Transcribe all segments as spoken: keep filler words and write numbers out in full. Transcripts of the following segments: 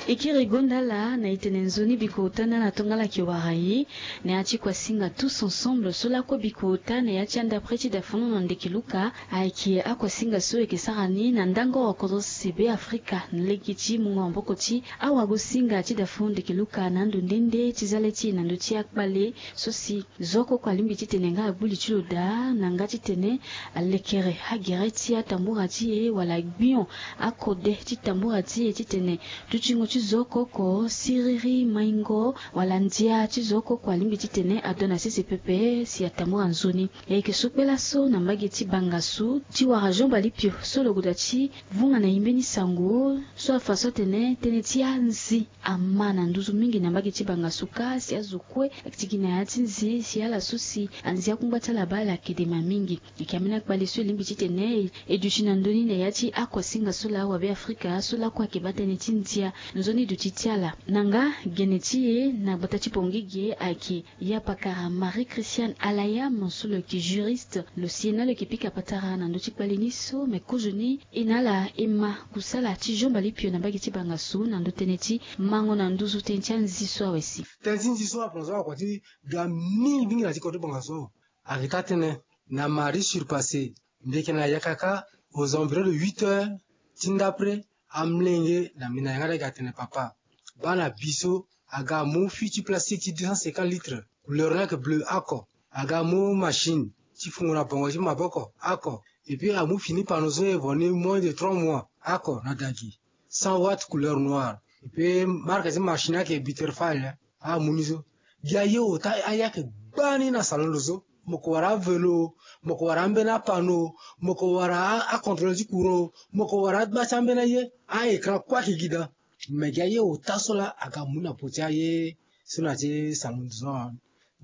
E kiri gonda ala na e tene nzoni bikota na ala tongana ala yeke wara e na ya ti kuasinga tous ensemble so lakue bikota na ya ti andapre ti dafon na ndeke luka. Ayeke akuasinga so e yeke sara ni na ndango oko so si be afrika na lege ti mungo maboko ti awagosinga ti dafon ndeke luka na ando nde nde ti za le ti e na ndö ti akpale so si zo oko oko alingbi titene nga agbu li ti lo daa na nga titene alekere agere ti atambura ti e wala agbion akode ti tambura ti e titene dutingo ti zo oko oko siriri maingo wala ndia ti zo oko oko alingbi titene ado na sese pepe si atambura nzoni. E yeke so kpe laso na mbage ti bangasu ti wara Jean Balipio so lo goda ti vunga na e mbeni sango so afa so atene tënë ti anzi ama na nduzu mingi na mbage ti bangasu kâ si azo kue ayeke ti gi na ya ti nzi si ala so si anzi akungba ti ala baa ala yeke dema mingi. E yeke ambeni akpale so e lingbi titene e duti na ndö ni na ya ti akuasinga so laa wabe afrika so lakue ayeke baa tënë ti ndia nzoni duti ti ala. Na nga gene ti e na gbata ti Bangui ge ayeke ya pakara Marie Christiane Alayam so lo yeke juriste, lo si e na lo yeke pika patara na ndö ti kpale ni so me kozoni e na ala e ma kusala ti Jean Balipio na mbage ti bangasu na ndö tënë ti mango na nduzu tënë ti anzi so awe si. Tënë ti nzi so afa so akua ti ga mingi mingi na ti kodro ti bangasu so. Ayeke taa tënë na mardi surpassé mbi yeke na yaka kâ aux environs de huit heures ti ndapre, amolenge na mbi na yanga ti ayeke atene papa, baa na bi so aga amu fût ti plastique ti deux cent cinquante litres, couleur ni ayeke bleu oko, aga amu machine ti fungo na bongo ti maboko oko, et puis amu fini panneau so e vo ni moins de trois mois oko na dagi, cent watt couleur noire, et puis marque ti machine ayeke Bitterfeld. Amu ni so gi aye ota aye ayeke gbani na salon ndo so. Mo ko wara avelo, mo ko wara ambeni apano, mo ko wara acontrôle ti courant, mo ko wara agba ti ambeni aye. Aécran kue ayeke gi daa. Me gi aye ota so laa aga mu na po ti aye so na ti salon ndo so.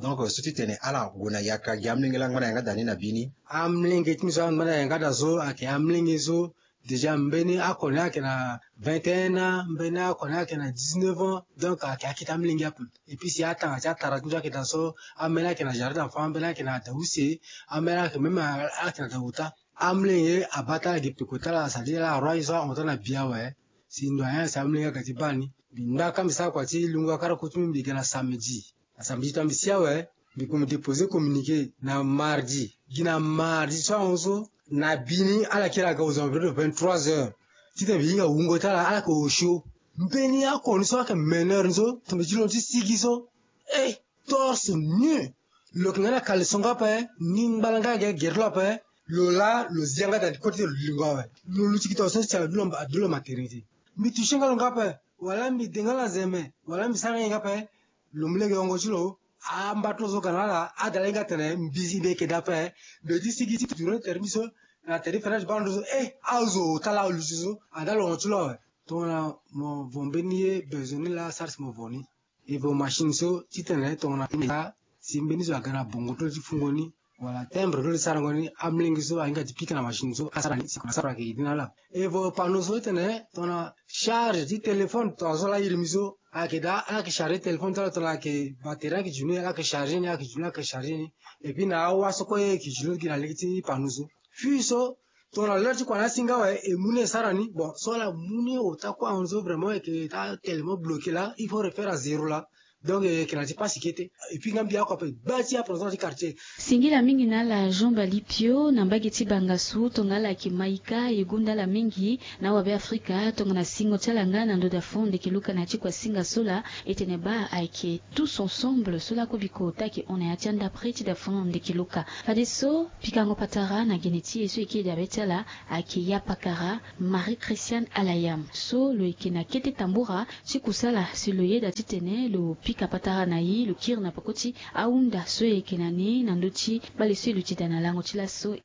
Donc so ti tene ala gue na yaka gi amolenge laa angba na yanga da ni na bi ni. Amolenge ti mbi so angba na yanga da so ayeke amolenge so déjà mbeni oko ni ayeke na vingt et un ans, mbeni oko ni ayeke na dix-neuf ans. Donc ayeke akete amolenge ape. Et puis si atanga ti atara ti mbi so ayeke daa so, ambeni ayeke na jardin d'enfant, ambeni ayeke na da use, ambeni ayeke même ayeke na da ota. Amolenge abaa ti ala gi peko ti ala, c'est-à-dire ala aroi so ahon ti ala na bi awe. Si ndo ayen si amolenge ayeke ti baa ni. Mbi ngba kâ mbi sara kua ti lungo akara ku ti mbi, mbi ga na samedi. Na samedi ti mbi si awe, mbi ko mbi déposer communiqué na mardi. Gi na mardi so ahon so na bi ni ala kiri aga aux environs de vingt-trois heures. Titene mbi hinga wungo ti ala, ala yeke osio. Mbeni oko ni so ayeke meneur ni so, tongana mbi ti londo ti sigi so, eh, torse nu. Lo yeke nga na caleçon nga ape, ni ngbala nga ge gere ti lo ape. Lo laa lo zia nga da ni kue ti lo lingo awe. Lo luti gi tonga so si adu lo maternité. Mbi toucher nga lo nga ape. Wala mbi de nga na zeme, wala mbi sara nga ye nga ape. Lo mu lege yongo ti lo. Amba ti lo so ga na ala, ada laa hinga atene mbi zi mbi yeke daa ape. Mbi ye ti sigi ti tourner tere ti mbi so na tere ti fenêtre ti baa ndo so, eh, azo ota laa aluti so. Ada lo hon ti lo awe. Tongana mo vo mbeni ye besoin ni laa sara si mo vo ni. Evo machine so titene tongana mbi laa si mbeni zo aga na bongo ti lo ti fungo ni, wala timbre ti lo ti sarango ni, amolenge so ahinga ti pika na machine so asara ni si kua na sara ayeke iri na ala. Evo panneau so titene tongana charge ti téléphone tongana so laa iri mbi so ayeke daa, ala yeke charger téléphone ti ala tongana ayeke batterie ayeke djuni, ala yeke charger ni, ala yeke djuni, ala yeke charger ni. Et puis na awa so kue ayeke djuni gi na lege ti panneau so. Fût so tongana l'heure ti kua ni asi nga awe, e mu ni e sara ni. Bon, so ala mu ni ota kue ahon so vraiment e yeke taa tellement bloqué laa, il faut refaire à zéro laa. Donc e yeke na ti pasi kete. Et puis nga mbi oko ape gba ti aprésident ti quartier. Singila mingi na ala Jean Balipio na mbage ti bangasu tongana ala yeke maika e gonda ala mingi na awabe afrika tongana singo ti ala nga na ndo dafon ndeke luka na ya ti kuasinga so laa e tene baa ayeke tous ensemble so lakue bikota ayeke hon na ya ti andapre ti dafon ndeke luka. Fadeso pikango patara na gene ti e so e kiri dabe ti ala ayeke ya pakara Marie Christiane Alayam so lo yeke na kete tambura ti kusala si lo yeda titene lo pika patara na e, lo kiri na peko ti ahunda so e yeke na ni na ndö ti kpale so e luti daa na lango ti laso.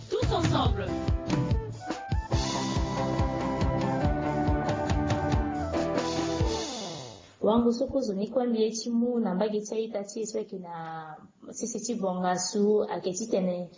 Tous ensemble. Wango so kozoni kue mbi ye ti mu na mbage ti a-ita ti e so ayeke na sese ti bongasu ayeke titene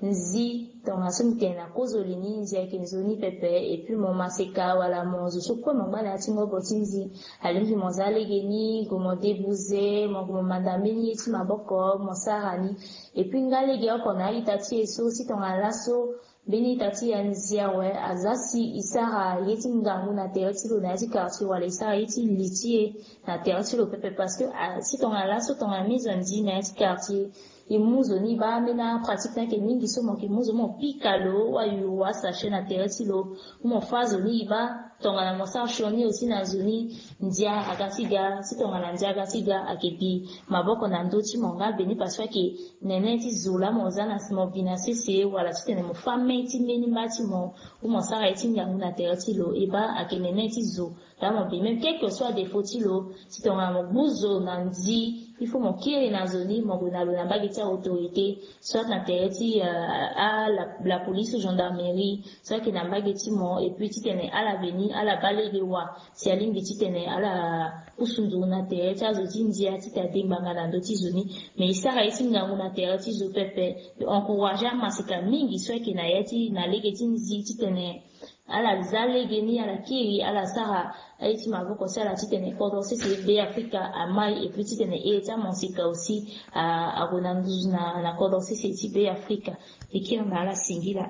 nzi, tongana so mbi tene na kozoni ni nzi ayeke nzoni pepe. Et puis mo maseka wala mo zo so kue mo ngba na ya ti ngobo ti nzi, alingbi mo za lege ni, gue mo débouser, mo gue mo manda mbeni ye ti maboko mo sara ni. Et puis nga lege oko na a-ita ti e so si tongana laso Mbeni ita ti anzi awe aza si e sara ye ti ngangu na tere ti lo na ya ti quartier wala e sara ye ti li ti e na tere ti lo pepe, parce que si tongana laso tongana mi zo anzi na ya ti quartier, e mu zo ni e baa ambeni apratique ni ayeke mingi so mo yeke mu zo ni mo pika lo wala yo wa sachet na tere ti lo, mo fâ zo ni e baa. Tongana mo sara sioni aussi na zo ni, ndia aga ti ga. Si tongana ndia aga ti ga ayeke bi maboko na ndö ti mo nga mbeni parce que ayeke nene ti zo laa mo za na mo bi na sese wala titene mo fâ mê ti mbeni mba ti mo ou mo sara ye ti ngangu na tere ti lo e baa ayeke nene ti zo laa mo bi même quelque soit défaut ti lo. Si tongana mo gbu zo na nzi, il faut mo kiri na zo ni mo gue na lo na mbage ti autorité, soit na tere ti euh, a la, la police ou gendarmerie, soit ayeke na mbage ti mo. Et puis titene ala veni ala baa lege wa si alingbi titene ala pusu nduru na tere ti azo ti ndia titene ade ngbanga na ndö ti zo ni. Mais e sara ye ti ngangu na tere ti zo pepe. E encourager amaseka mingi so ayeke na ya ti na lege ti nzi titene ala za lege ni ala kiri ala sara aye ti maboko ti ala titene kodro sese Be Afrika amai. Et puis titene ere ti amaseka aussi ague na nduzu na kodro sese ti Be Afrika. E kiri na ala singila.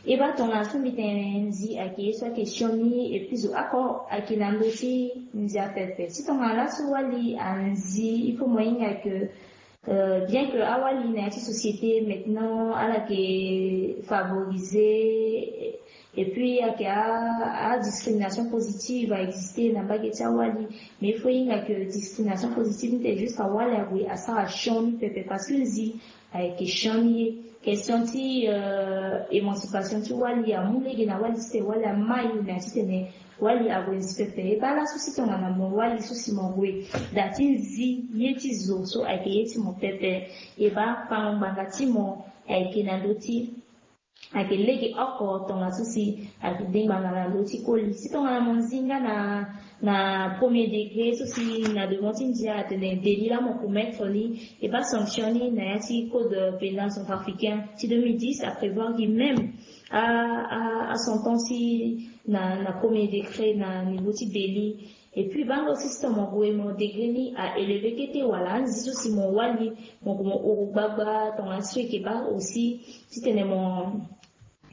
E baa tongana so mbi tene nzi ayeke ye so ayeke sioni et puis zo oko ayeke na ndö ti ndia pepe. Si tongana laso wali anzi, il faut mo hinga que euh, bien que awali na ya ti société maintenant ala yeke favoriser et puis ayeke adiscrimination positive a exister na mbage ti awali. Mais il faut hinga que discrimination positive ni te juste awali ague asara sioni pepe parce que nzi ayeke sioni ye. Question ti euh, émancipation ti wali amu lege na wali titene wali amai na titene wali ague nzi pepe. E baa laso si tongana mo wali so si mo gue daa ti nzi ye ti zo so ayeke ye ti mo pepe, e baa fango ngbanga ti mo ayeke na ndö ti ayeke lege oko tongana so si ayeke de ngbanga na ndö ti koli. Si tongana mo nzi nga na na premier degré so si na devant ti ndia atene délit laa mo commettre ni, e baa sanction ni na ya ti code pénal centrafricain ti deux mille dix aprévoir gi même a a a sentence ti na na premier degré na niveau ti délit. Et puis bango si si tongana mo gue mo degré ni a élevé kete wala anzi so si mo wali mo gue mo huru gbagba tongana so e yeke baa aussi titene mo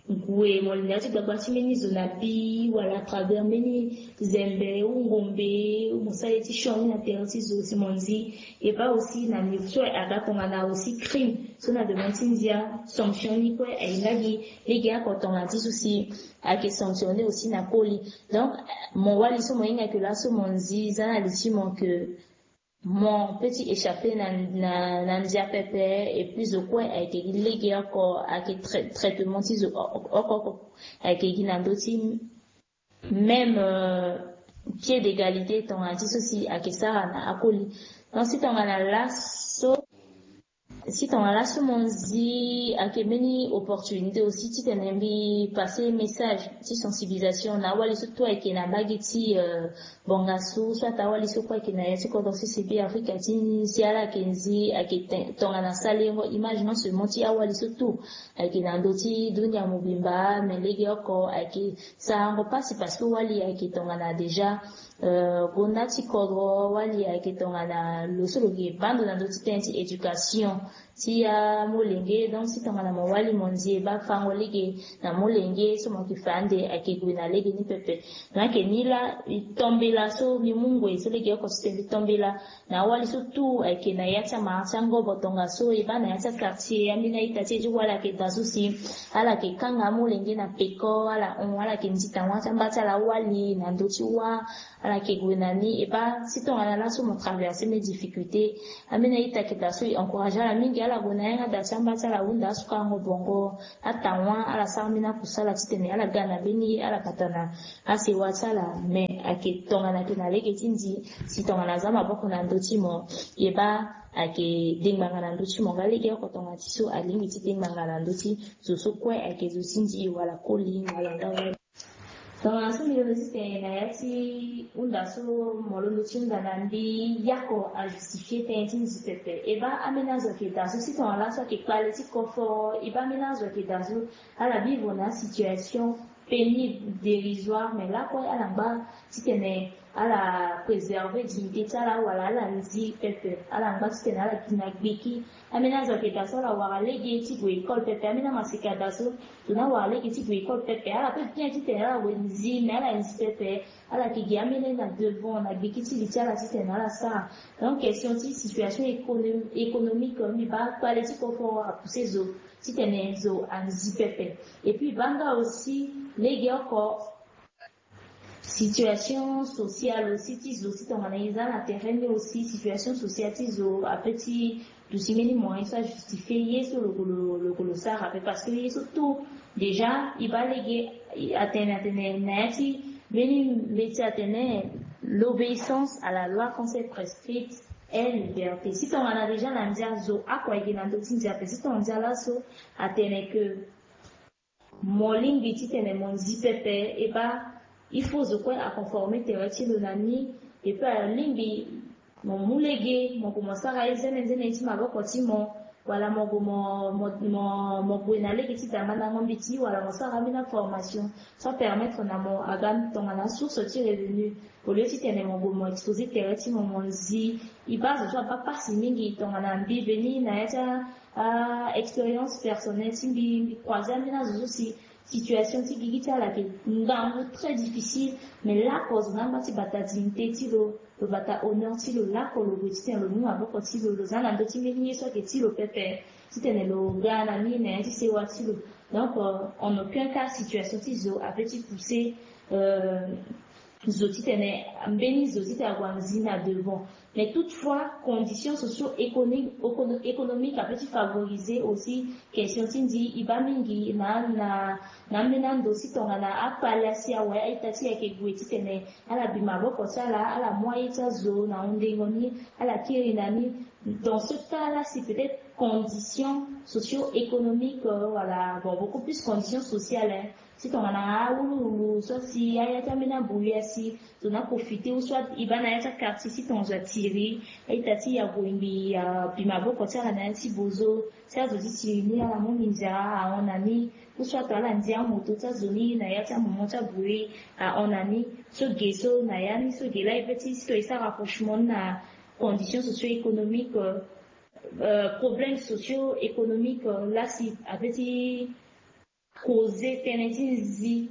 gue mo linda ti gbagba ti mbeni zo na bi wala à travers mbeni zembe ou ngombe ou mo sara ye ti sioni na tere ti zo si mo nzi. E baa aussi na niveau so aga tongana aussi crime so na devant ti ndia sanction ni kue aye nga gi lege oko tongana ti so si ayeke sanctionné aussi na koli. Donc mo wali so mo hinga ke laso mo nzi za na li ti mo ke mo peut ti échapper na na na ndia pepe. Et puis zo kue ayeke gi lege oko ayeke traitement ti zo oko oko ayeke gi na ndö ti même euh, pied d'égalité tongana ti so si ayeke sara na akoli. Donc si tongana laso si tongana laso mo nzi ayeke mbeni opportunité aussi titene mbi passer message ti sensibilisation na awali so tout ayeke na mbage ti euh, bongasu so ata awali so kue ayeke na ya ti kodro sese Be Afrika ti nzi ala ayeke nzi ayeke tongana salengo image non seulement ti awali so tout ayeke na ndö ti dunia mobimba mais lege oko ayeke sarango pasi parce que wali ayeke tongana déjà euh, gonda ti kodro wali ayeke tongana lo so lo yeke baa ndo na ndö ti tënë ti éducation ti amolenge. Donc si tongana mo wali mo nzi e baa fango lege na molenge so mo yeke fa ande ayeke gue na lege ni pepe. Donc ayeke ni laa e tombela so mbi mu ngoi so lege oko so tene mbi tombela na awali so tout ayeke na ya ti amara ti angobo tongaso e baa na ya ti aquartier ambeni a-ita ti e ti wali ayeke daa so si ala yeke kanga amolenge na peko ala hon ala yeke nzi tangua ti amba ti ala awali na ndö ti wâ. Ala yeke gue na ni e baa si tongana laso mo traverser mbeni difficulté ambeni a-ita ayeke daa so e encourager ala mingi ala gue na yanga daa ti amba ti ala ahunda asuka ango bongo atangua ala sara mbeni akusala titene ala ga na mbeni ye ala bata na asewa ti ala. Mais ayeke tongana ayeke na lege ti nzi si tongana aza maboko na ndö ti mo e baa ayeke de ngbanga na ndö ti mo nga lege oko tongana ti so alingbi ti de ngbanga na ndö ti zo so kue ayeke zo ti nzi wala koli wala nga wali. Tongana so mbi londo ti tene na ya ti hunda so mo londo ti hunda na mbi yako ajustifie tënë ti nzi pepe e baa ambeni azo ayeke daa so si tongana laso ayeke kpale ti kofo e baa ambeni azo ayeke daa so ala bivo na asituation pénible dérisoire mais lakue ala ngba titene ala préserver dignité ti ala wala ala nzi pepe. Ala ngba titene ala gi na gbiki. Ambeni azo ayeke daa so ala wara lege ti gue école pepe. Ambeni amaseka daa so tongana awara lege ti gue école pepe, ala pe bien titene ala gue nzi, mais ala nzi pepe. Ala yeke gi ambeni na devant na gbiki ti li ti ala titene ala sara. Donc question ti situation écono- économique, mbi baa kpale ti koforo apousse zo titene zo anzi pepe. Et puis baa nga aussi lege oko situation sociale aussi ti zo, si tongana e za na terrain ni aussi situation sociale ti zo ape ti duti mbeni moyen so ajustifie ye so lo ko lo lo ko lo sara ape, parce que ye so tout déjà e baa lege atene atene na ya ti mbeni mbeti atene l'obéissance à la loi quand c'est prescrite est liberté. Si tongana déjà na ndia zo oko ayeke na ndö ti ndia ape, si tongana ndia laso atene que mo lingbi titene mo nzi pepe, e baa il faut zo kue aconformer tere ti lo na ni. Et puis alingbi mo mu lege, mo gue mo sara ye nzene nzene ti maboko ti mo, wala mo gue mo mo mo mo gue na lege ti da mandango mbeti, wala mo sara ambeni aformation so apermettre na mo aga tongana source ti revenu. Au lieu titene mo gue mo exposer tere ti mo mo nzi, e baa zo so abaa pasi mingi tongana mbi veni na ya ti a expérience personnelle ti mbi, mbi croiser ambeni azo so si situation ti gigi ti ala ayeke ngangu très difficile. Mais lako zo na angba ti bata dignité ti lo, lo bata honneur ti lo, lako lo gue titene lo mu maboko ti lo, lo za na ndö ti mbeni ye so ayeke ti lo pepe titene lo ga na ni na ya ti sewa ti lo. Donc en aucun cas situation ti zo ape ti pousser zo titene mbeni zo titene ague anzi na devant. Mais toutefois conditions socio économiques ape ti favoriser aussi question ti nzi e baa mingi na na na ambeni ando si tongana akpale asi awe a-ita ti e ayeke gue titene ala bi maboko ti ala, ala mu aye ti azo na hundengo ni, ala kiri na ni. Dans ce cas là si peut-être conditions socio économiques wala bon beaucoup plus conditions sociales, si tongana awuluwulu so si aya ti ambeni abruit asi, tongana profiter ou soit e baa na ya ti aquartier si tongana zo atiri a-ita ti e ague mbi abi maboko ti ala na ya ti bozo, si azo ti tiri ni ala mu minzia ahon na ni, ou soit ala ndia amoto ti azo ni na ya ti amoment ti abruit ahon na ni. So ge so na ya ni so ge laa e pe ti si to e sara rapprochement ni na conditions socio économiques, problèmes socio économiques laa si ape ti causer tënë ti nzi.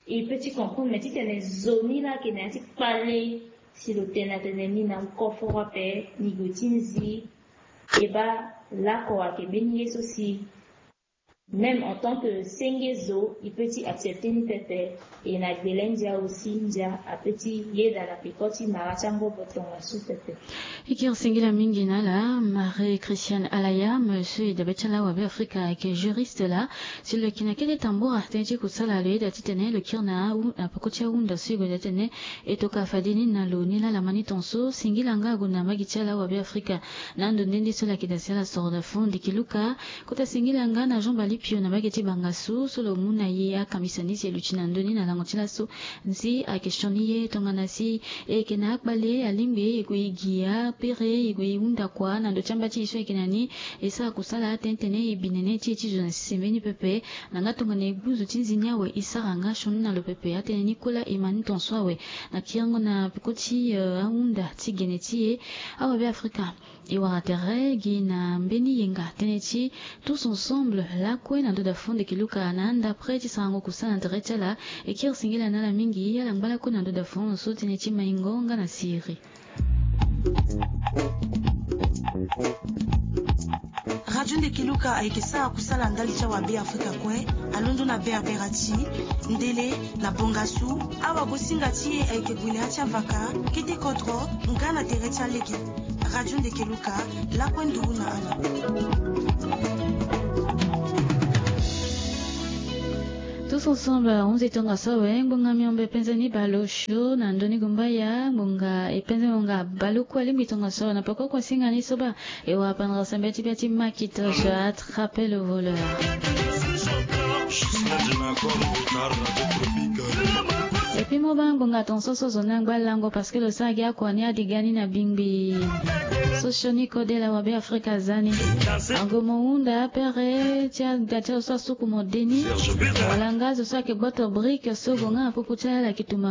E pe ti comprendre mais titene zo ni laa ayeke na ya ti kpale si lo tene atene ni na koforo ape ni gue ti nzi. E baa lako ayeke mbeni ye so si même en tant que senge zo e pe ti accepter ni pepe. E na gbele ndia aussi ndia ape ti yeda na peko ti mara ti angobo tongaso pepe. E kiri singila mingi na ala Marie Christiane Alayam so e dabe ti ala awabe Afrika ayeke juriste laa. Si lo yeke na kete tambura tënë ti kusala lo yeda titene lo kiri na peko ti ahunda so e gue daa titene e toka fade ni na lo ni laa lama ni tongaso. Singila nga ague na mbage ti ala awabe Afrika na ando nde nde so lo yeke daa si ala soro daa fo ndiki luka. Kota singila nga na Jean Balipio na mbage ti Bangassou so lo mu na e akambisani si e luti na ndö ni na lango ti laso. Nzi ayeke sioni ye tongana si e yeke na akpale alingbi e gue e gi apere e gue e hunda kua na ndö ti amba ti e so e yeke na ni. E sara kusala atene tene e bi nene ti e ti zo na sese mbeni pepe. Na nga tongana e gbu zo ti nzi ni awe e sara nga sioni na lo pepe atene ni kola e ma ni tongaso awe. Na kiringo na peko ti ahunda ti gene ti e awabe Afrika. E wara tere gi na mbeni yenga tënë ti tous ensemble lakue na ndö dafo ndeke luka na anda près ti sarango kusala na tere ti ala. E kiri singila na ala mingi ala ngba lakue na ndö dafo so tënë ti maingo nga na siri. Radio ndeke luka ayeke sara kusala ndali ti awabe Afrika kue. Alondo na berbera ti ndele na bongasu. Awagosinga ti e ayeke gue na ya ti avaka kete kodro nga na tere ti alege. Radio ndeke luka lakue nduru na ala. Tous ensemble onze tongaso awe ngbonga miombe penza ni bale osio na ndoni gumbaya ngbonga e penza ngbonga bale kue alingbi tongaso awe na peko kue singa ni so baa. E wara pendra sambia ti bia ti makita je attrape le voleur. Epi mo baa ngbonga tongaso so zo ni angba lango parce que lo sara gi akua ni adiga ni na bingbi. So sioni kode la wabe Afrika aza ni. Ango mo hunda apere ti ada ti azo so asuku mo de ni. Wala nga azo so ayeke gboto brike so gonga na popo ti ala ala yeke tuma.